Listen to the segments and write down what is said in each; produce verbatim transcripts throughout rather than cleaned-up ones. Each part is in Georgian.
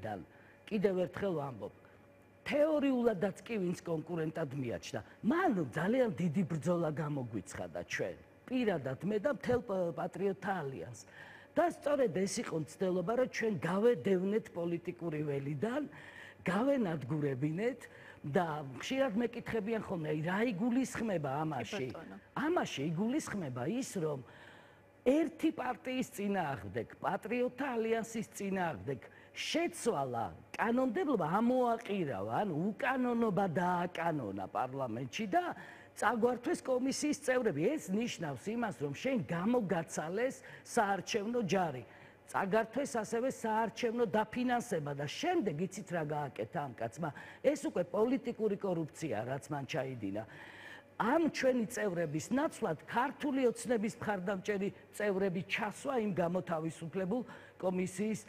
მხრიდან კიდევ ერთხელ ვამბობ, თეორიულადაც კი ვინც კონკურენტად მიაჩნდა, მან ძალიან დიდი ბრძოლა გამოგვიცხადა ჩვენ, პირადად მე და მთელ პატრიოტთა ალიანსს. და სწორედ ეს იყო მცდელობა, რომ ჩვენ გავედევნეთ პოლიტიკური ველიდან, გავენადგურებინეთ და ხშირად მეკითხებიან ხოლმე, რა იგულისხმება ამაში? ამაში იგულისხმება ის, რომ ერთი პარტიის წინააღმდეგ, პატრიოტთა ალიანსის წინააღმდეგ შეცვალა კანონმდებლობა ამოაყირავა, ანუ უკანონობა დააკანონა პარლამენტში და წაგვართვეს კომისიის წევრები. ეს ნიშნავს იმას, რომ შენ გამოგაცალეს საარჩევნო ჯარი. წაგართვეს ასევე საარჩევნო დაფინანსება და შემდეგ იცით რა გააკეთა ამ კაცმა? ეს უკვე პოლიტიკური კორუფცია, რაც მან ჩაიდინა. ამ ჩვენი წევრების ნაცვლად ქართული ოცნების მხარდამჭერი წევრები ჩასვა იმ გამოთავისუფლებულ კომისიის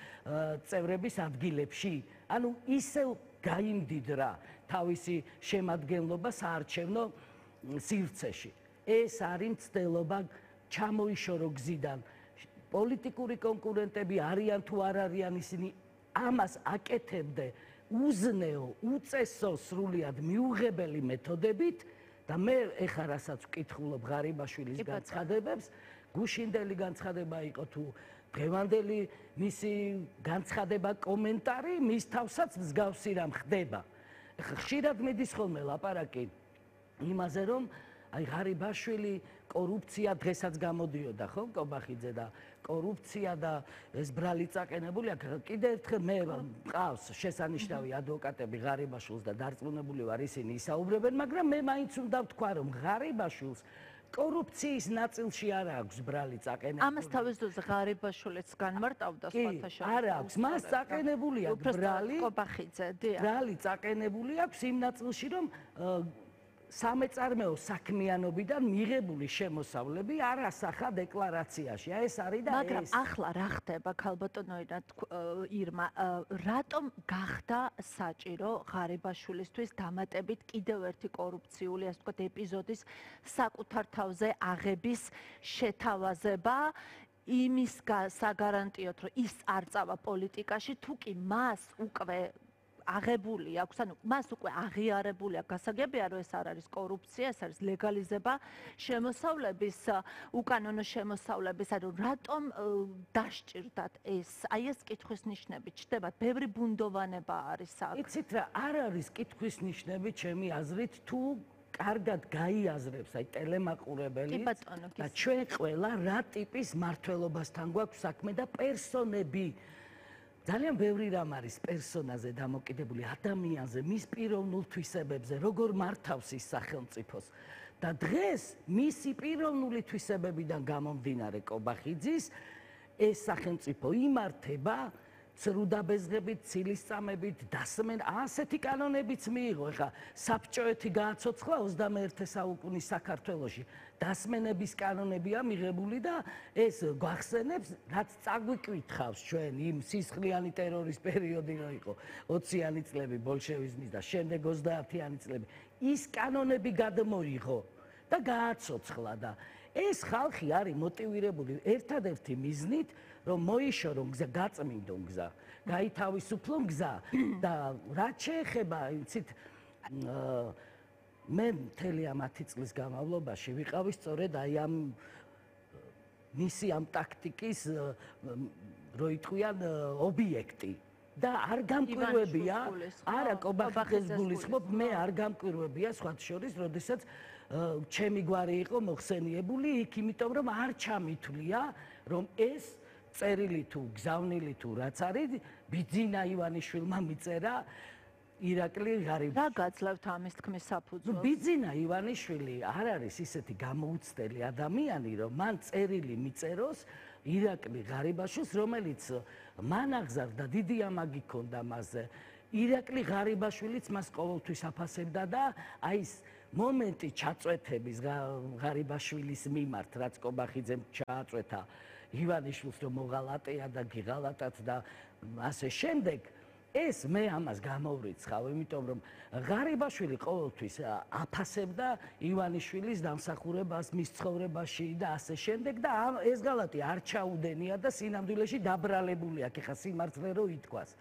წევრების ადგილებში. ანუ ისევ გაიმდიდრა თავისი შემადგენლობა საარჩევნო სივრცეში. ეს არის მცდელობა ჩამოიშორო გზიდან. პოლიტიკური კონკურენტები არიან თუ არ არიან, ისინი ამას აკეთებდნენ უზნეო, უწესო, სრულიად მიუღებელი მეთოდებით და მე ეხლა რასაც ვკითხულობ ღარიბაშვილის განცხადებებს, გუშინდელი განცხადება იყო თუ დღევანდელი მისი განცხადება, კომენტარი, მის თავსაც მსგავსი რამ ხდება. ეხლა ხშირად მიდის ხოლმე ლაპარაკი იმაზე, რომ აი ღარიბაშვილი კორუფცია დღესაც გამოდიოდა ხო კობახიძე და კორუფცია და ეს ბრალი წაკენებული აქ კიდევ ერთხელ მე მყავს შესანიშნავი ადვოკატები ღარიბაშვილს და დარწმუნებული ვარ ისინი ისაუბრებენ, მაგრამ მე მაინც უნდა ვთქვა რომ ღარიბაშვილს კორუფციის ნაწილში არ აქვს ბრალი წაკენებული. ამას თავის დროზე ღარიბაშვილიც განმარტავდა სხვათა შორის. არ აქვს, მას წაკენებული აქვს ბრალი. კობახიძე, დიახ. ბრალი წაკენებული აქვს იმ ნაწილში რომ სამეწარმეო საქმიანობიდან მიღებული შემოსავლები არ ასახა დეკლარაციაში. ეს არის და ეს. მაგრამ ახლა რა ხდება ქალბატონო ირმა, რატომ გახდა საჭირო ღარიბაშვილისთვის დამატებით კიდევ ერთი კორუფციული, ასე ვთქვათ, ეპიზოდის საკუთარ თავზე აღების შეთავაზება? იმის საგარანტიოდ, რომ ის არ წავა პოლიტიკაში, თუ კი მას უკვე აღებული აქვს, ანუ მას უკვე აღიარებული აქვს, გასაგებია რომ ეს არ არის კორუფცია, ეს არის ლეგალიზება შემოსავლების, უკანონო შემოსავლების, ანუ რატომ დასჭირდათ ეს? აი ეს კითხვის ნიშნები ჩდება, ბევრი ბუნდოვანება არის აქ. იცით რა, არ არის კითხვის ნიშნები ჩემი აზრით, თუ კარგად გაიაზრებს აი ტელემაყურებელი და ჩვენ ყველა რა ტიპის მმართველობასთან გვაქვს საქმე და პერსონები. ძალიან ბევრი რამ არის პერსონაზე დამოკიდებული, ადამიანზე, მის პიროვნულ თვისებებზე, როგორ მართავს ის სახელმწიფოს. და დღეს მისი პიროვნული თვისებებიდან გამომდინარე კობახიძის ეს სახელმწიფო იმართება ცრუდაბეზღებით, ცილისწამებით, დასმენ, ასეთი კანონებიც მიიღო. ეხლა საბჭოეთი გააცოცხლა ოცდამეერთე საუკუნის საქართველოში. დასმენების კანონებია მიღებული და ეს გვახსენებს, რაც წაგვიკითხავს ჩვენ იმ სისხლიანი ტერორის პერიოდი რო იყო ოციანი წლები ბოლშევიზმის და შემდეგ ოცდაათიანი წლები. ის კანონები გადმოიღო და გააცოცხლა და ეს ხალხი არის მოტივირებული ერთადერთი მიზნით, რომ მოიშორო გზა, გაწმინდო გზა, გაითავისუფლო გზა და რაც შეეხება, იცით, მე მთელი ამ ათი წლის განმავლობაში ვიყავი სწორედ აი ამ მისი ამ ტაქტიკის რო იტყვიან ობიექტი და არ გამკვირვებია, არა კობახიძეს გულისხმობ, მე არ გამკვირვებია სხვა შორის, როდესაც ჩემი გვარი იყო მოხსენიებული იქ, იმიტომ რომ არ ჩამითვლია, რომ ეს წერილი თუ გზავნილი თუ რაც არის, ბიძინა ივანიშვილმა მიწერა ირაკლი ღარიბაშვილი. რა გაძლევთ ამის თქმის საფუძველს? ბიძინა ივანიშვილი არ არის ისეთი გამოუცდელი ადამიანი, რომ მან წერილი მიწეროს ირაკლი ღარიბაშვილს, რომელიც მან აღზარდა, დიდი ამაგი ჰქონდა მასზე. ირაკლი ღარიბაშვილიც მას ყოველთვის აფასებდა და აი ეს მომენტი ჩაწვეთების ღარიბაშვილის მიმართ, რაც კობახიძემ ჩააწვეთა ივანიშვილს, რომ მოღალატეა და გიღალატათ და ასე შემდეგ, ეს მე ამას გამოვრიცხავ, იმიტომ რომ ღარიბაშვილი ყოველთვის აფასებდა ივანიშვილის დამსახურებას მის ცხოვრებაში და ასე შემდეგ და ეს ღალატი არ ჩაუდენია და სინამდვილეში დაბრალებული აქ, ეხა სიმართლე რო ითქვას.